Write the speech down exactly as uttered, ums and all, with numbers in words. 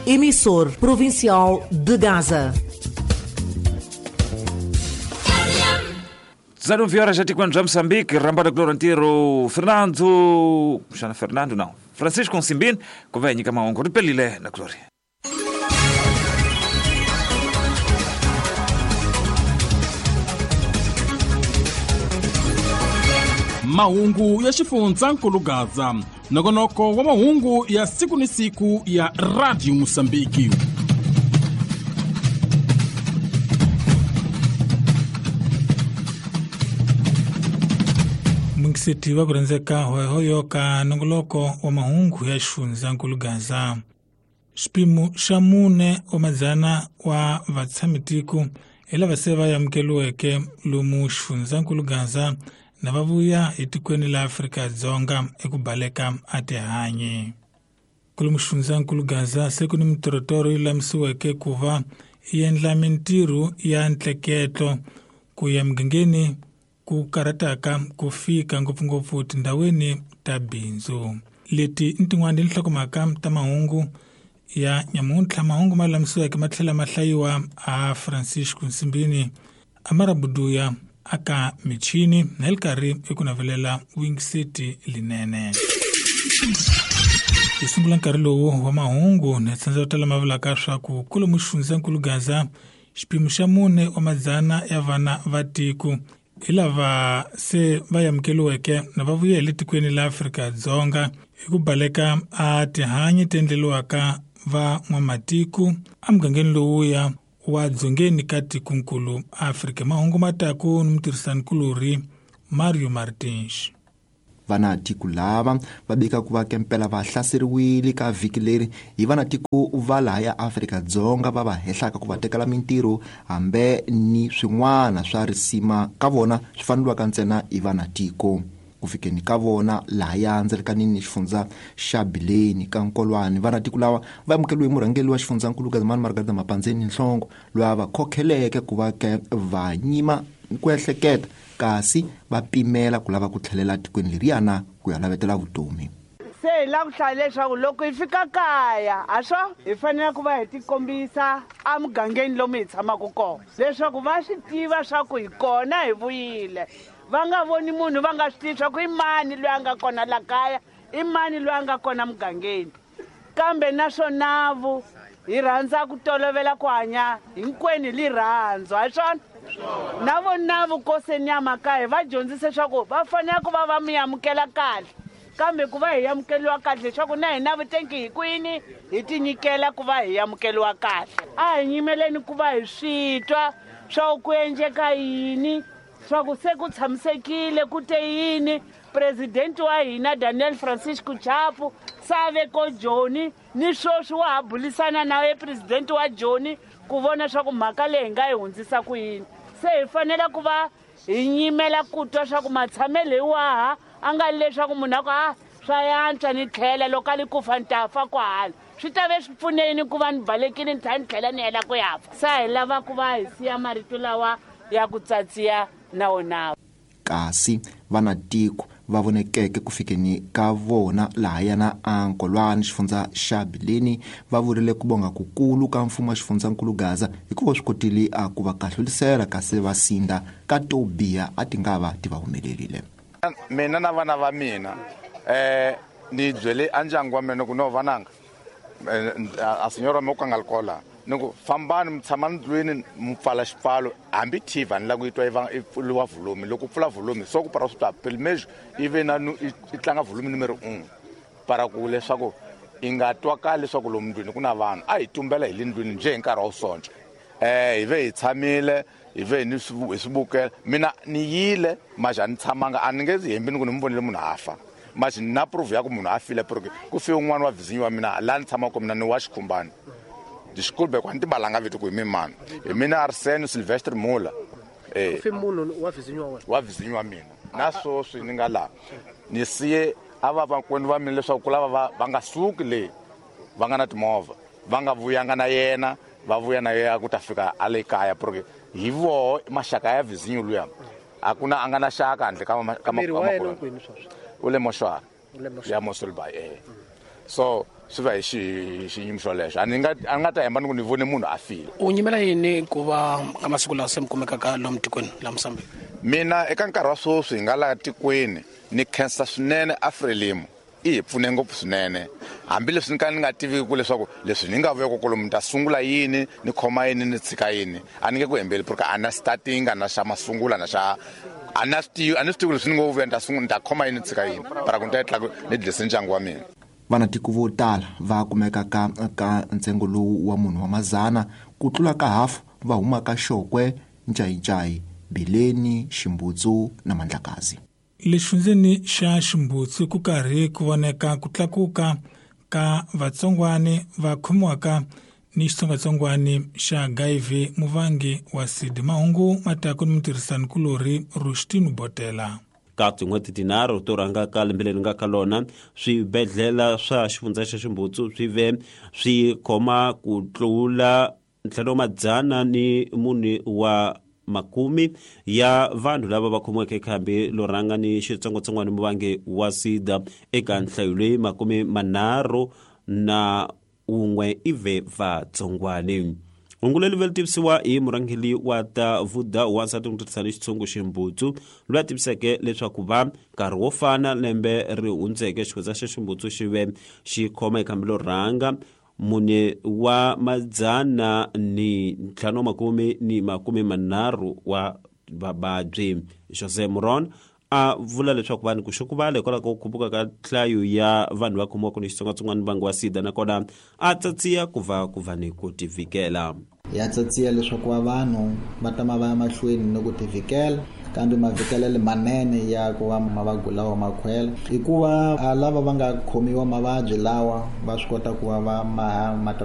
emissor provincial de Gaza. dezenove horas já quando já Moçambique, Rambada Clorantiro, Fernando, Xana Fernando não, Francisco Simbin, convém que maongo ripelile na Glória. Mahungu ya xifundzankulu Gaza, nongonoko wa mahungu ya siku ni siku ya Radio Mozambique. Mungiseti wa kurenzeka hoyo ka nongoloko wa mahungu ya xifundzankulu Gaza. Xipimo xa mune wa madzana wa vatshamitiku hi lava se va amukeriweke lomu xifundzankulu Gaza na va vuya etikweni la Afrika-Dzonga eku baleka a tihanyi. Kolomu xifundzankulu Gaza se ku ni mitorotoro yi lulamisiweke ku va yi endla mintirho ya ntleketlo ku ya mugangeni ku karhataka ku fika ngopfungopfu tindhawini ta bindzu. Leti i tin'wana ti nhlokomhaka ta mahungu ya nyamuntlha. Mahungu ma lulamisiweke ma tlhela ma hlayiwa a Francisco Nsimbini, Amarabuduya aka michini na hi karhi eku navelela Wing City linene. Hi sungula nkarhi lowu wa mahungu na tsandza yo tala ma vulaka swa ku kolomu xifundzankulu Gaza xipimo xa mune wa madzana ya vana va tiko hi lava se va amukeriweke na va vuya hi le tikweni la Afrika-Dzonga hi ku baleka a tihanyi ti endleriwaka va n'wamatiko emugangeni lowuya wa dzongeni ka tikonkulu Afrika. Mahungu mataku ni mutirhisanikulori Mario Martins. Vanatiko lava va bika ku va kempela va hlaseriwile ka vhiki leri hi vanatiko va laha ya Afrika-Dzonga va va hehlaka ku va tekela mintirho hambe ni swin'wana swa risima ka vona swi faneliwaka ntsena hi vanatiko. Ku fikeni ka vona laha ya ndzelekanini ni xifundza xa Bileni ka Nkolwane, vanatiko lava va amukeriwe hi murhangeri wa xifundzankulu Gazimani Margarita Mapandzeni Nhlongo, loyi a va khokheleke ku va ke va nyima ku ehleketa kasi va pimela ku lava ku tlhelela tikweni leriyana ku ya lavetela vutomi. Se hi lava ku hlaya leswaku loko hi fika kaya a swo hi fanele ku va hi tikombisa emugangeni lomu hi tshamaka kona leswaku va swi tiva swa ku hi kona hi vuyile. Va nga voni munhu va nga swi tivi swa ku i mani loyi a nga kona la kaya, i mani loyi a nga kona mugangeni. Kambe naswona vu hi rhandza ku tolovela ku hanya hinkwenu hi rirhandzu, ha swona? Na vona vukoseni ya makaya va dyondzise leswaku va fanele ku va va mi amukela kahle, kambe ku va hi amukeriwa kahle leswaku na hina vutengi hi kwini hi tinyikela ku va hi amukeriwa kahle. A hi nyimeleni ku va hi swi twa swa ku endleka yini, swa ku se ku tshamisekile ku te yini. Presidente wa hina Daniel Francisco Chapo save ko Joni ni sweswi wa ha bulisana na ye presidente wa Joni ku vona swa ku mhaka leyi hi nga yi hundzisa ku yini. Se hi fanele ku va hi nyimela ku twa swa ku matshamelo hi waha a nga leswaku munhu a ku a swa yantswa ni tlhela loko a li ku fa ni ta fa kwahala swi ta ve swi pfuneni ku va ni balekile ni tlhela ni tlhela ni hela ku ya fa. Se hi lava ku va hi siya marito lawa ya ku tsatsiya na wona. Kasi vanatiko va vonekeke ku fikeni ka vona laha yana Ankolwane xifundza xa Bileni va vurile ku bonga kukulu ka mfumo wa xifundzankulu Gaza hikuva swi kotile a ku va kahlulisela kasi va sinda ka to biha a ti nga va ti va humelerile. Mina na vana va mina eh ni byele a ndyangu wa mina ku no vananga a senyora mo ka nga likola ni ku fambani mi tshama ndlwini mi pfala xipfalo hambi T V ni lava ku yi twa yi va yi pfuriwa volume. Loko u pfula volume so ku para swi twa pelo menos yi ve na yi tlanga volume numero un para ku leswaku yi nga twakali leswaku lomu ndlwini ku na vanhu. A hi tumbela hi le ndlwini njhe hi nkarhi wa sonto eh hi ve hi tshamile hi ve ni hi swi vukela. Mina ni yile maxa ni tshamanga a ni nge hembi ni ku ni mi vonile munhu a fa maxi na proof ya ku munhu a file porque ku fe un'wana wa vizinyo wa mina laha ni tshamaka mina ni wa xikhumbani. Desculpe quanti balanga vito ku hi mani hi mina Arsene Sylvester Mula eh ku fe munhu wa vizinyo wa wena wa vizinyo wa mina na sweswi ni nga laha ni siye a va vakwenu va mina leswaku ku lava va va nga suki le va nga na timovha va nga vuyanga na yena va vuya na yena ku ta fika a le kaya porque hi voho maxaka ya vizinyo luya a ku na a nga na xaka handle ka ka miri wa yena kwini sweswi u le moxwara ya Moselby eh so Swi va hi xiyimo xolexo. A ni nga a ni nga ta hemba ni ku ni vone munhu a file. U nyimela yini ku va ka masiku lawa se mi kumekaka lomu tikweni la Mozambique? Mina eka nkarhi wa sweswi hi nga laha tikweni ni khensa swinene Afrelimo. I hi pfune ngopfu swinene. Hambileswi ni ka ni nga tiviki ku leswaku leswi ni nga vuya kolomu ni ta sungula yini, ni khoma yini, ni tshika yini. A ni nge ku hembeli porque a na starting, a na xa masungula, na xa a na swi tivi, a ni swi tivi leswi ni ngo vuya ni ta sungula ni ta khoma yini, ni tshika yini. Para ku ni ta tla ni dlise ndyangu wa mina. Vanatiko vo tala va kumeka ka ka ntsengo lowu wa munhu wa mazana ku tlula ka hafu va huma ka Xokwe, Ncayincayi, Bileni, Ximbutsu na Mandlakazi. Le xifundzeni xa Ximbutsu ku karhi ku voneka ku tlakuka ka vatsongwani va khomiwaka ni xitsongwatsongwani xa H I V muvangi wa SIDA. Mahungu matako ni mutirhisanikulorhi Rushtinu Botela. Ka tin'hweti tinharhu to rhanga ka lembe leri nga ka lona, swibedhlele swa xifundza xa Ximbutsu swi ve swi khoma ku tlula ntlhanu madzana ni mune wa makumi ya vanhu lava va khomiweke khambi lo rhanga ni xitsongwatsongwana muvangi wa SIDA. Eka nhlayo leyi makume manharhu na wun'we i ve vatsongwani. Hungu leri ri tivisiwa hi murhangeri wa ta vuda wansati ku tirhisana xitshungu Ximbutsu, loyi a tiviseke leswaku va nkarhi wo fana lembe ri hundzeke xifundza xa Ximbutsu xi ve xi khoma hi khambi lo rhanga mune wa madzana ni ntlhanu wa makume ni makume manharhu wa vavabyi. Jose Moron a vula leswaku vanhu ku xukuvala hikwalaho ka ku khuphuka ka nhlayo ya vanhu va khomiwaka ni xitsongwatsongwana vangi wa SIDA, nakona a tsatsiya ku va ku va ni ku tivikela. Ya tsatsiya leswaku va vanhu va tama va ya mahlweni ni ku tivikela, kambe mavikelelo manene ya ku va mavabyi lawa makhwela hikuva lava va nga khomiwa mavabyi lawa va swi kota ku va va ma